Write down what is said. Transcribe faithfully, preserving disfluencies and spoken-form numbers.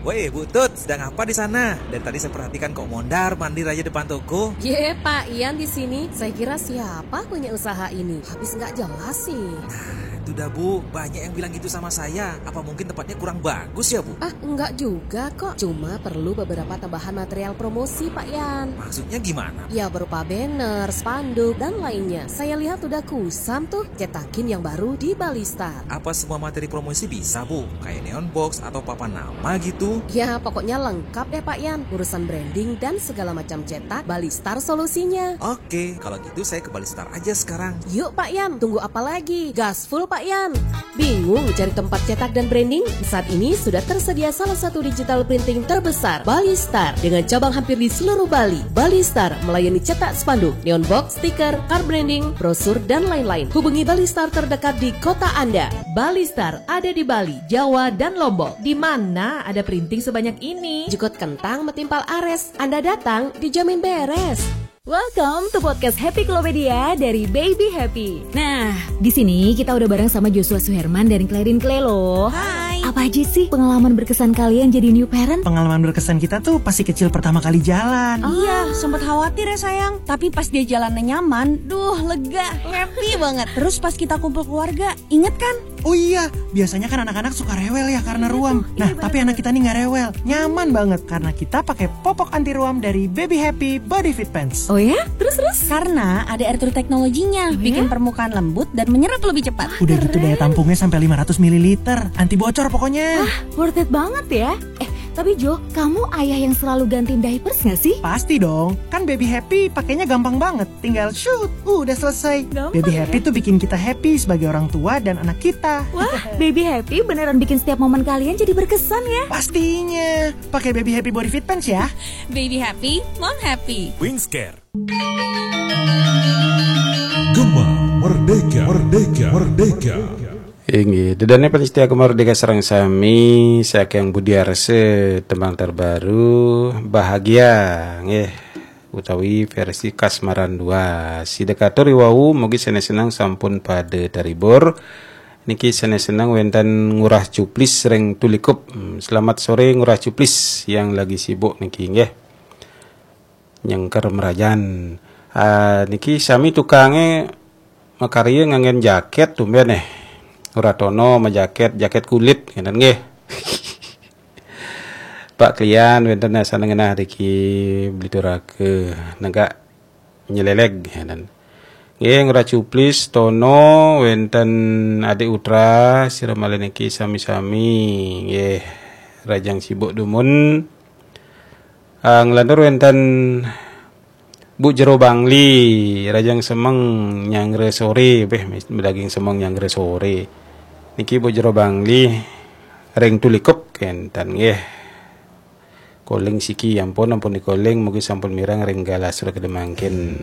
Woi, Bu Tut, sedang apa di sana? Dari tadi saya perhatikan kok mondar mandir aja depan toko. Ye, Pak Ian di sini. Saya kira siapa punya usaha ini? Habis nggak jelas sih. Itu dah, Bu, banyak yang bilang gitu sama saya. Apa mungkin tempatnya kurang bagus ya, Bu? Ah, enggak juga kok. Cuma perlu beberapa tambahan material promosi, Pak Ian. Maksudnya gimana? Ya, berupa banner, spanduk, dan lainnya. Saya lihat udah kusam tuh. Cetakin yang baru di Balistar. Apa semua materi promosi bisa, Bu? Kayak neon box atau papan nama gitu? Ya, pokoknya lengkap deh, Pak Ian. Urusan branding dan segala macam cetak, Balistar solusinya. Oke, kalau gitu saya ke Balistar aja sekarang. Yuk, Pak Ian, tunggu apa lagi? Gas full, Pak Ian. Bingung cari tempat cetak dan branding? Saat ini sudah tersedia salah satu digital printing terbesar, Balistar, dengan cabang hampir di seluruh Bali. Balistar melayani cetak spanduk, neon box, stiker, card branding, brosur, dan lain-lain. Hubungi Balistar terdekat di kota Anda. Balistar ada di Bali, Jawa, dan Lombok. Di mana ada printing sebanyak ini? Jukut kentang metimpal ares. Anda datang dijamin beres. Welcome to podcast Happy Klopedia dari Baby Happy. Nah, di sini kita udah bareng sama Joshua Suherman dan Clarin Clay loh. Hai. Apa aja sih pengalaman berkesan kalian jadi new parent? Pengalaman berkesan kita tuh pas si kecil pertama kali jalan. Iya, sempat khawatir ya sayang. Tapi pas dia jalannya nyaman, duh lega, happy banget. Terus pas kita kumpul keluarga, inget kan? Oh iya, biasanya kan anak-anak suka rewel ya karena ruam. Nah, tapi anak kita nih nggak rewel, nyaman banget karena kita pakai popok anti ruam dari Baby Happy Body Fit Pants. Oh ya? Terus terus? Karena ada air true teknologinya, bikin permukaan lembut dan menyerap lebih cepat. Udah gitu daya tampungnya sampai lima ratus mililiter, anti bocor pokoknya. Worth it banget ya. Eh, tapi Jo, kamu ayah yang selalu gantiin diapers gak sih? Pasti dong, kan Baby Happy pakainya gampang banget. Tinggal shoot, udah selesai. Gampang Baby ya? Happy tuh bikin kita happy sebagai orang tua dan anak kita. Wah, Baby Happy beneran bikin setiap momen kalian jadi berkesan ya. Pastinya, pakai Baby Happy Body Fit Pants ya. Baby happy, mom happy. Wingscare. Gema Merdeka, Merdeka, Merdeka. Inggih, dedane penyetia Gema Merdeka sareng sami, saking Budi Arse, tembang terbaru Bahagia nggih, utawi versi Kasmaran dua. Sida katur wau, mugi seneng-seneng sampun pada terhibur. Niki seneng-seneng wenten Ngurah Cuplis ring Tulikup. Hmm, selamat sore Ngurah Cuplis yang lagi sibuk niki nggih. Nyengker merajan. Ah, niki sami tukange makarya nganggen jaket tumben eh. Ora tono majaket, jaket kulit ngeten nggih. Pak Klian wenten asana ngenah niki Blituraga negak nyeleleg ngeten. Nggih, Ngurah Cuplis, Tono, wenten Adik Utra, sira malih niki sami-sami nggih rajang sibuk dumun. Ah, nglantur wenten Bu Jero Bangli, rajang semeng nyanggra sore, beh, daging semeng nyanggra sore. Niki Bu Jero Bangli, ring Tulikup kenten nggih. Koling siki ampun, ampun dikoling, mugi sampun mireng ring galah sura kedemangkin.